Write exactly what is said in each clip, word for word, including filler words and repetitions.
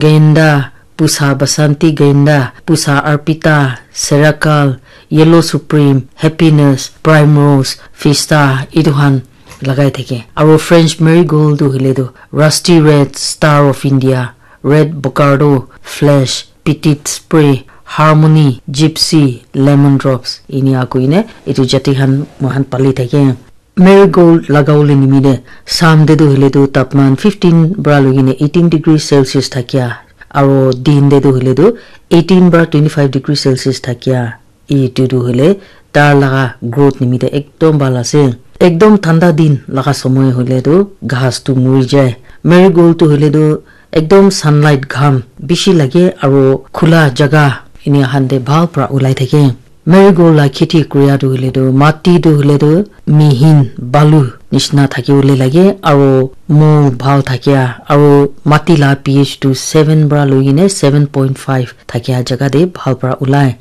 Genda, Pusa Basanti Genda, Pusa Arpita, Serakal, Yellow Supreme, Happiness, Primrose, Fista, etu khan lagai thake. Aro French Marigold tu hoile tu Rusty Red, Star of India, Red Bocardo, Flash, Petit Spray, Harmony, Gypsy, Lemon Drops, inia koine etu jati khan moikhan pali thake. Marigold lagawole nimite Sam te tu hoile tu tapaman fifteen pra loi kene eighteen degree Celsius thakia, aro din te tu hoile tu eighteen pra twenty five degree Celsius thakia. Etu tu hoile tar laga growth nimite ekdom bhal ase. Ekdom thanda din laga somoy hoile tu ghas tu muri jai. Marigold tu hoile tu ekdom sunlight gham bishi lage aro khula jaga enia khan te bhal pra ulai thake. Marigold la kheti kuria tu hoile tu mati tu hoile tu mihin balu nishina thaki bole lage aro mold bhal thakia aro mati la P H tu seven pra loi kene seven point five thakia jaga te bhal pra ulai.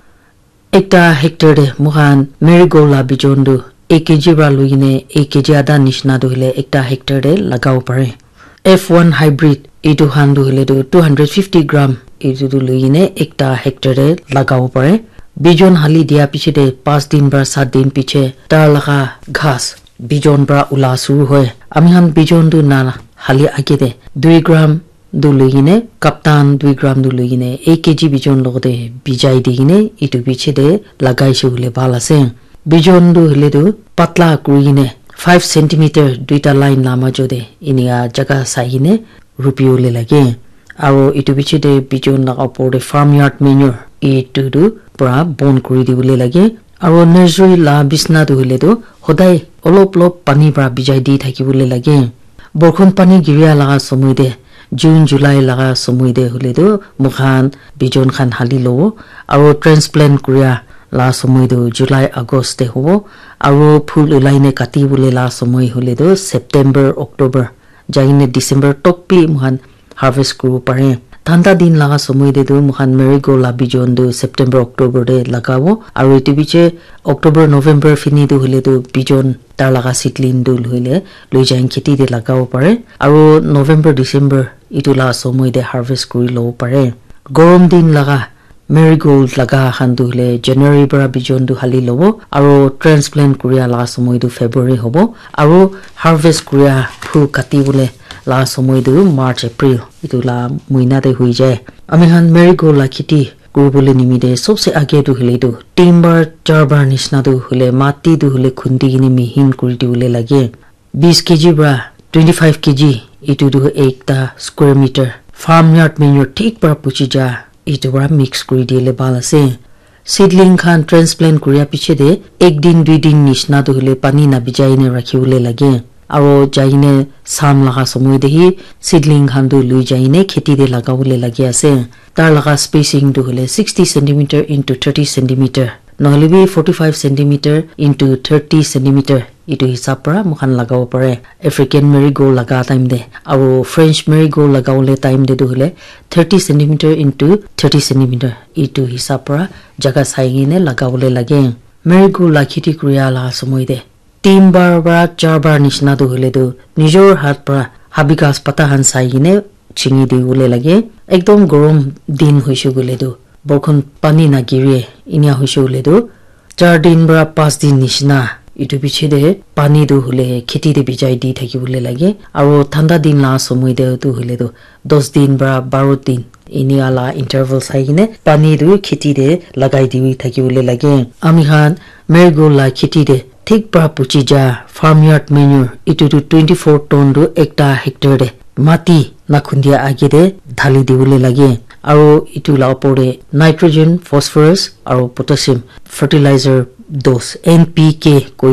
Ekta hectare te moikhan marigold la bijon tu ek K G pra loi kene ek K G adha nishina tu hoile ekta hectare te lagabo pare. F one hybrid etu khan tu hoile tu two hundred fifty gram etu tu loi kene ekta hectare te lagabo pare. Bijon hali dia piche te panch din pra sat din piche tar laga ghas bijon pra ula shuru hoi. Ami khan bijon tu na hali age te dui gram tu loi kene kaptan dui gram tu loi kene ek K G bijon logote bijai di kene etu piche te lagai se hoile bhal ase. Bijon tu hoile tu patla kuri kene five centimeter duita line la majo te inia jaga sai kene rupi bole lage. Aro etu piche te bijon laga upor te farm yard manure etu tu pura bon kuri di bole lage. Aro nursery la bisna tu hoile tu hodai olop olop pani pra bijai di thaki bole lage. Borkhon pani giria laga somoy te, June, July laga somoy te hoile tu moikhan bijon khan hali lobo. Aro transplant kuria la somoy tu July, August te hobo. Aro phul ulai ne kati bole la somoy hoile tu September, October, jai kene December tok bi moikhan harvest kuribo pare. Thanda din laga somoy te tu moikhan marigold la bijon tu September, October te lagabo. Aro etu piche October, November fini tu hoile tu bijon tar laga seedling tu hoile loi jai kheti te lagabo pare. Aro November, December etu la somoy te harvest kuri lobo pare. Gorom din laga marigold laga khan tu hoile January para bijon tu hali lobo, aro transplant kuria laga somoy tu February hobo, aro harvest kuria phul kati bole laga somoy tu March, April etu la muina te hui jai. Ami khan marigold la kheti kuri bole nimite sobse age tu hoile tu tin bar, char bar nishina tu hoile mati tu hoile khundi kene mihin kuri di bole lage. Bis K G para twenty five K G etu tu ekta square meter farm yard manure thik para puchi ja etu para mix kuri dile bhal ase. Seedling khan transplant kuria piche te ek din dui din nishina tu hoile pani na bijai ne rakhi bole lage. Aro jai ne sam laga somoy te hi seedling khan tu lui jai ne kheti te laga bole lage ase. Tar laga spacing tu hoile sixty centimeter into thirty centimeter. Nohole bi forty five centimeter into thirty centimeter etu hisab para moikhan lagabo pare. African marigold laga time te aro French marigold lagabole time te tu hoile thirty centimeter into thirty centimeter etu hisab para jaga sai kene lagabole lage. Marigold la kheti kuria la somoy te tin bar para char bar nishina tu hoile tu nijor hat para habi ghas pata khan sai kene chingi di bole lage. Ekdom gorom din hoise koile tu borkhon pani na giri enia hoise koile tu char din para panch din nishina etu piche te pani tu hoile kheti te bijai di thaki bole lage. Aro thanda din la somoy te tu hoile tu dos din para baro din enia la interval sai kene pani tu kheti te lagai di thaki bole lage. Ami khan marigold la kheti te thik para puchi ja farm yard manure etu tu twenty four ton tu ekta hectare te mati na khundia age te dhali di bole lage. Aro etu la upor te nitrogen, phosphorus aro potassium fertilizer dose N P K koi